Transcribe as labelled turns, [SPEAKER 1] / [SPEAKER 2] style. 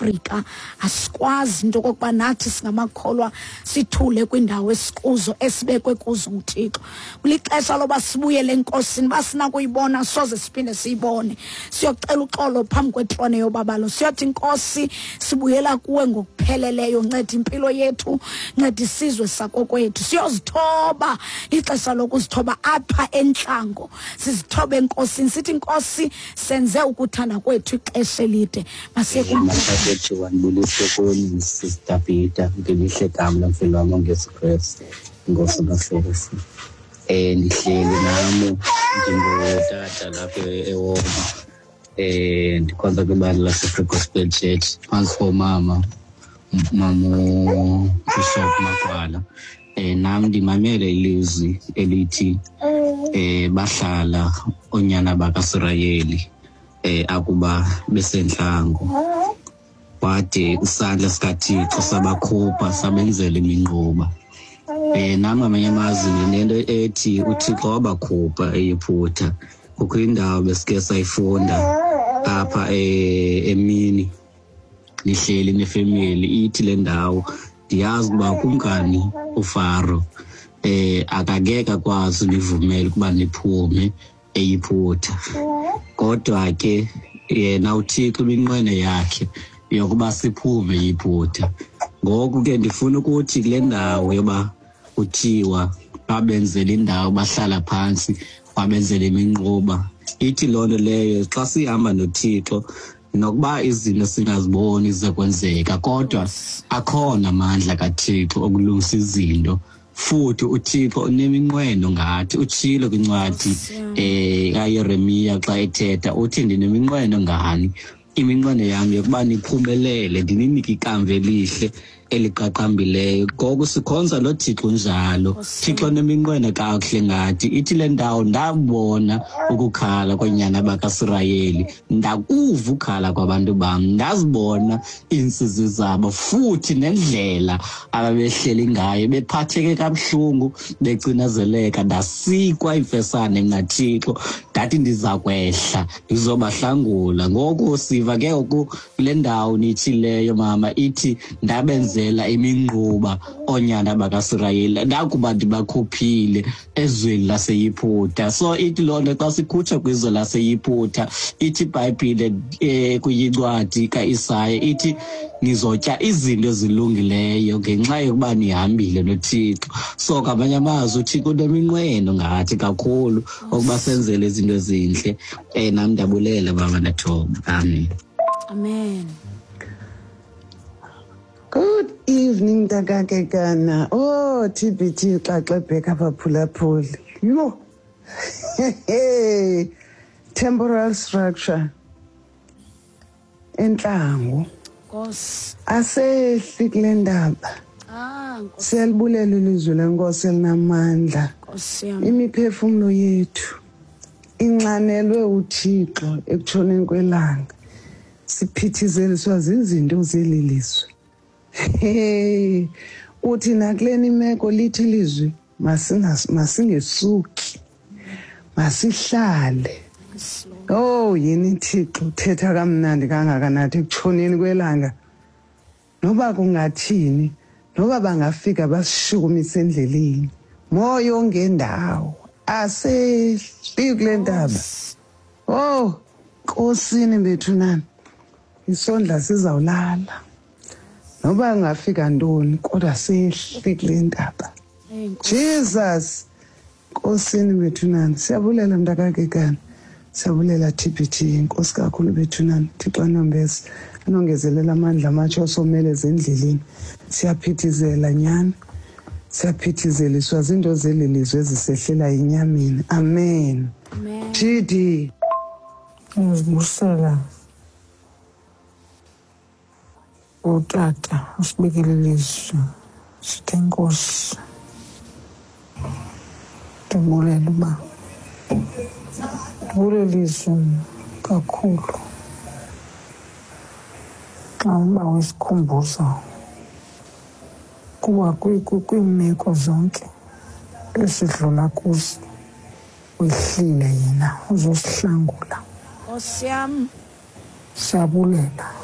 [SPEAKER 1] Afrika. Asikwazi into okokuba nathi singamakholwa sithule kwindawo esikuzo esibekwe kuzo nguThixo. Kulixesha loba sibuyele eNkosini, uba sinakuyibona soze siphinde siyibone. Siyocela uxolo phambi kwetrone yobabalo, siyothi Nkosi sibuyela kuwe ngokupheleleyo, nceda impilo yethu, nceda isizwe sakokwethu. Siyozithoba, ixesha lokuzithoba apha entlango, sizithobe eNkosini, sithi Nkosi senze ukuthanda kwethu ixesha elide. Masiye
[SPEAKER 2] kumthathethu. Wandibulise kuni Sister Peter, ngelihle gama lomfelo wam ongesu Kristu, Nkosi uMahlesi. Ndihleli nam ndingutata lapha eWoma. Ndikhonza kwibandla laseFree Gospel Church phantsi komama Mama Bishop Makwala. Nam ndimamele ilizwi elithi bahlala oonyana bakaSirayeli akuba besentlango, wade isandla sikaThixo sabakhupha sabenzela iminquba. Nam ngamanye amazwi ndinento ethi uThixo wabakhupha eYiphutha. Kukho indawo besike sayifunda apha emini nihleli nefemeli, ithi le ndawo ndiyazi ukuba kumkani uFaro akakeke akwazi univumela ukuba niphume eYiphutha, kodwa ke yena uThixo iminqweno yakhe yokuba siphume eYiphutha. Ngoku ke ndifuna ukuthi kule ndawo yoba kuthiwa babenzela indawo bahlala phantsi babenzela iminquba, ithi loo nto leyo xa sihamba noThixo nokuba izinto singaziboni zizokwenzeka, kodwa akhona amandla kaThixo okulungisa izinto. Futhi uThixo uneminqweno ngathi, utshilo kwincwadi kaYeremiya xa ethetha, uthi ndineminqweno ngani, iminqweno yam yokuba niphumelele, ndininike ikamva elihle eliqaqambileyo. Ngoku sikhonza lo Thixo njalo, Thixo neminqweno kakuhle ngathi. Ithi le ndawo ndabona ukukhala koonyana bakaSirayeli, ndakuva ukhala kwabantu bam, ndazibona iintsizi zabo futhi nendlela ababehleli ngayo bephatheke kabuhlungu becinezeleka. Ndasikwa imfesane mna Thixo, ndathi ndiza kwehla ndizobahlangula. Ngoku siva ke ngoku kule ndawo nitshileyo mama, ithi ndabenzela iminquba oonyana bakaSirayeli ndakuba ndibakhuphile ezweni laseYiphutha. So ithi loo nto xa sikhutshwa kwizwe laseYiphutha, ithi iBhayibhile kwincwadi kaIsaya ithi nizotya izinto ezilungileyo ngenxa yokuba nihambile noThixo. So ngamanye amazwi uThixo uneminqweno ngathi kakhulu ukuba senzele izinto ezintle. Nam ndiyabulela baba, ndathoba. Amen.
[SPEAKER 1] Amen.
[SPEAKER 3] Good evening, Ntakakekana. Oh, TBT xaxebheka abaphulaphuli. Yho. Temporal structure. Entlango.
[SPEAKER 1] Nkosi.
[SPEAKER 3] Asehli kule ndaba.
[SPEAKER 1] Nkosi.
[SPEAKER 3] Siyalibulela ilizwi leNkosi elinamandla.
[SPEAKER 1] Nkosi yam.
[SPEAKER 3] Imiphefumlo yethu inxanelwe uThixo ekutshoneni kwelanga. Siphithizeliswa zizinto zeli lizwe. Hey, uthi nakuleni imeko lithi ilizwi masingesuki, masihlale. Oh, yini Thixo uthetha kamnandi kangaka nathi ekutshoneni kwelanga. Noba kungathini, noba bangafika basishukumise endleleni. Moya ongendawo asehli kule ntaba. Oh, Nkosini bethu nani, isondla sizawulala. Noba kungafika ntoni, kodwa sehli kule ntaba. Jesus, Nkosini bethu nani, siyabulela mntakakekana, siyabulela TBT, Nkosi kakhulu bethu nani. Thixo anombese, anongezelela amandla amatsha osomeleza endleleni. Siyaphithizela nyani, siyaphithizeliswa zinto zeli lizwe ezisehlela enyameni. Amen.
[SPEAKER 1] Amen.
[SPEAKER 3] TD.
[SPEAKER 4] Ngizibusela utata usibekele ilizwi, sithi enkosi, ndibulela uba ndibulela izwi kakhulu xa uba wesikhumbuzo kuba kwiimeko zonke esidlula kuzo wehlile yena uzosihlangula.
[SPEAKER 1] Nkosi yam.
[SPEAKER 4] Siyabulela.